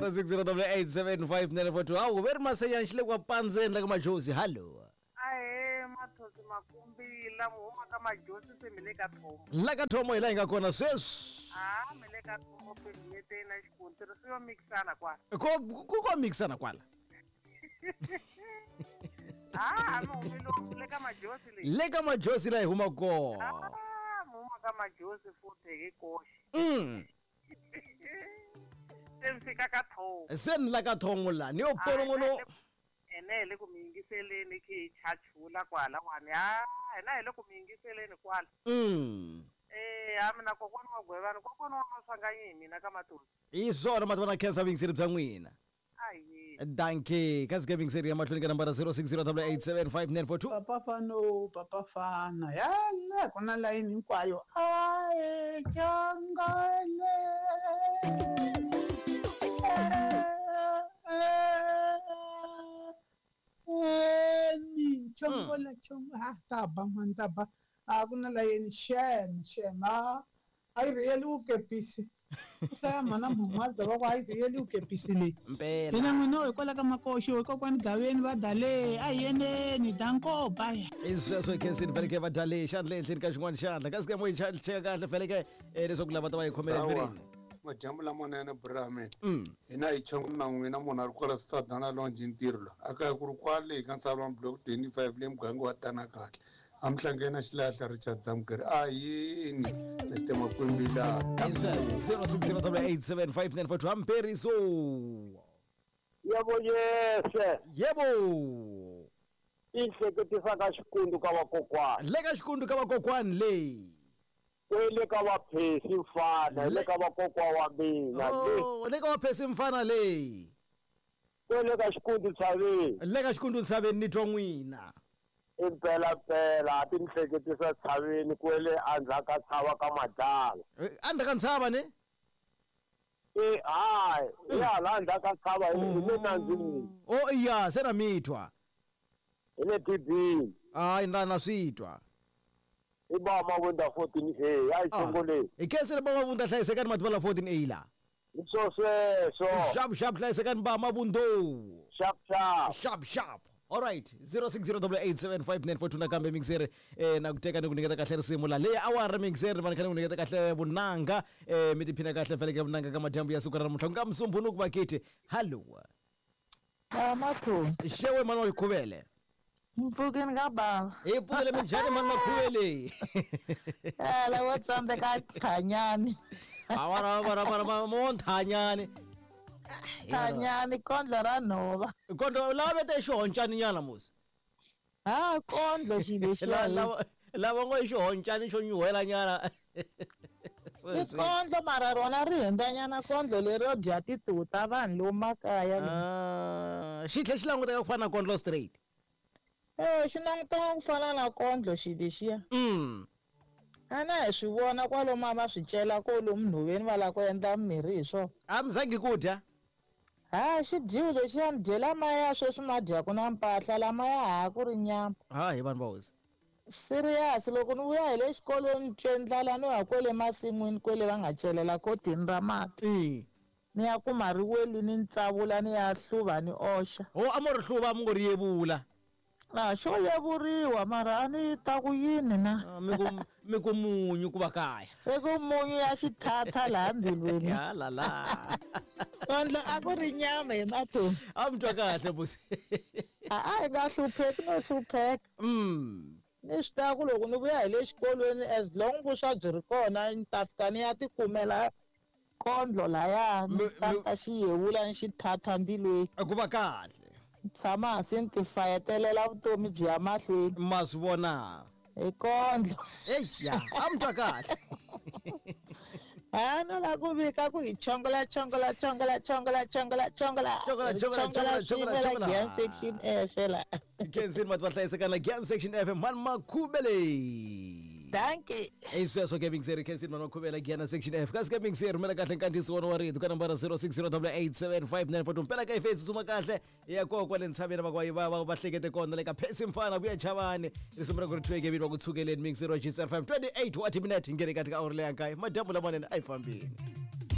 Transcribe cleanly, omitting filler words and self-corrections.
06087594 hawu ve ri masenya xi le kwa pandzeni la ka majozi hallo. Ahee mathosi makumbila mi huma ka majosi se mi le ka thomo. La ka thomo hi laha hi nga kona sweswi. Ha mi le ka thomo phevimeteni na xikontiri swi yo mikisana kwala. Ko ku ko mikisana kwala. Ha mi humile le ka majosi leyi. Le ka majosi laha hi huma kona. Ah, mi huma ka majosi futhi hi koxe. Se mi fika ka thomo. Se ni la ka thomo la ni yo polongono. Ene hi le ku mi yingiseleni khe hi chachula kwalawani. Ha hina hi le ku mi yingiseleni kwala. Ha mina kokwana wa Gwevani, kokwana wa Maswanganyi hi mina ka Matosi. Hi swona mati vana khensa vuyingiseri bya n'wina. Ahee. Dankie. Kasi ke vuyingiseri ya mahlweni ka nambara 0608875942. Papa fano, papa fana. Yala ku na layini hinkwayo. Ae changale. Ni chongola chongola. Ha ta ba man ta ba. A ku na layini shem shem. A yi rhiyeli vukepisi. Ku hlaya mhana Mhumaza va ku a yi rhiyeli vukepisi leyi. Mpela. Hina n'wina hikwalaho ka makoxo hikokwani gaveni va dale a hi yeneni danko baya. I sweswo hi khensini fanekele va dale xandla ehenhleni ka xin'wana xandla kasi ke mo hi cheka kahle fanekele leswaku lava ta va hi khomele mirini. Madyambu lamanene bra mina. Hina hi chongo na n'wina munhu a ri kwala Sadana Lounge ntirho la. A kaya ku ri kwale ka Ntshavani block 25 le muganga wa Tana kahle. A mi hlangene na xilahla Richard Zamukeri. A yini Mr Makwembila. I sweswo 0608875942 Hamperiso. Yebo yese. Yebo. I hleketisa ka xikundu ka vakokwani. Le ka xikundu ka vakokwani leyi. Le ka vaphesi mfana, le ka vakokwa wa mina. Oh, le ka vaphesi mfana leyi. Le ka xikundu tshaveni. Le ka xikundu tshaveni ni twa n'wina. Impela pela ti hleketisa tshaveni kwele andzaka tshava ka madlala. Andzaka ntshava ne? Eh hayi, ya la andzaka tshava hi le nandzini. Oh iya, se na mitwa. Hi le dibini. Hayi na switwa. I ba Mavunda 14A, ya xongoleni. Hi khensa ba Mavunda hlayisekani mati la 14A la. Hi swo sweswo. Sharp sharp hlayisekani ba Mavundo. Sharp sharp. Sharp sharp. All right, 0608875942 nakambe mixer na ku teka ni ku nyiketa kahle risimu la leyi awara mixer va ni kha ni ku nyiketa kahle vunanga mi tiphina kahle fanekele vunanga ka madyambu ya siku ra namuntlha ku nga Musumbhunuku vakiti. Hallo. Mathoni. Xewe mani wa Xikhuvele. Mpfukeni ka bava. Hi pfukele minjhani mani Makhuvele. Ala wo tsandzeka thanyani. Awara awara mo thanyani. Thanyani kondlo ra nhova. Kondlo lava vete xihoncani nyana musi. Ha kondlo xi lexiya. Lava ngo xihoncani xo nyuhela nyana. I kondlo mara rona ri hundzanyana kondlo lero dya tituta vanhu lomu makaya. Xi tlhe xi languteka ku fana na kondlo straight. Xi languteka ku fana na kondlo xi lexiya. Ana hi swi vona kwalomu a va swi cela kolomu nhoveni va lava ku endla mimirhi hi swona. A mi zangi ku dya? Ha xi dyiwe lexiya mi dyela maya sweswi ma dyaku na mpahla lamaya ha ku ri nyama. Ha hi vanhu va hosi. Serious loko ni vuya hi le xikolweni twe ndlala ni ya kwele masin'wini kwele va nga celela kotini ra mati. Ni ya kuma ri weli ni ntsavula ni ya hluva ni oxa. Ho a mo ri hluva mi ngo ri yevula. A xo yevuriwa mara a ni ta ku yini na. Mi ku munyu ku va kaya. I ku munyu ya xithatha laha mbilwini. Ya la la. Kondlo a ku ri nyama hi mathoni. A mi twa kahle busi. A hi nga hlupheki no hlupheka. Ni swi tiva ku loko ni vuya hi le xikolweni as long vuswa byi ri kona ni ta fika ni ya tikumela kondlo laya ni ta xi yevula ni xithatha mbilwini. Ku va kahle. Tshama hansi ni ti fayetelela vutomi byi ya mahlweni. Ma swi vona. Hi kondlo. Eya, a mi twa kahle. Ha no la ku vika ku hi chongola chongola chongola chongola chongola chongola chongola chongola chongola chongola Gyan section F la. Kensini mati va hlayisekana Gyan section F mani Makhuvele. Dankie. I sweswo ke mixer Kensini mani Makhuvele Gyan section F. Kasi ke mixer rhumela kahle nkandziyiso wona wa rito ka nambara 0608875942 mpela ka ifesi tsutsuma kahle ya kona kwale ntshaveni va va hlekete kona le ka Phesi mfana vuya chavani risimu ra ku ri thweke vito va ku tshukeleni mixer wa GCR 5 28 wa timinete hi nghene kati ka awuri leya nkaye madyambu lamanene a hi fambini.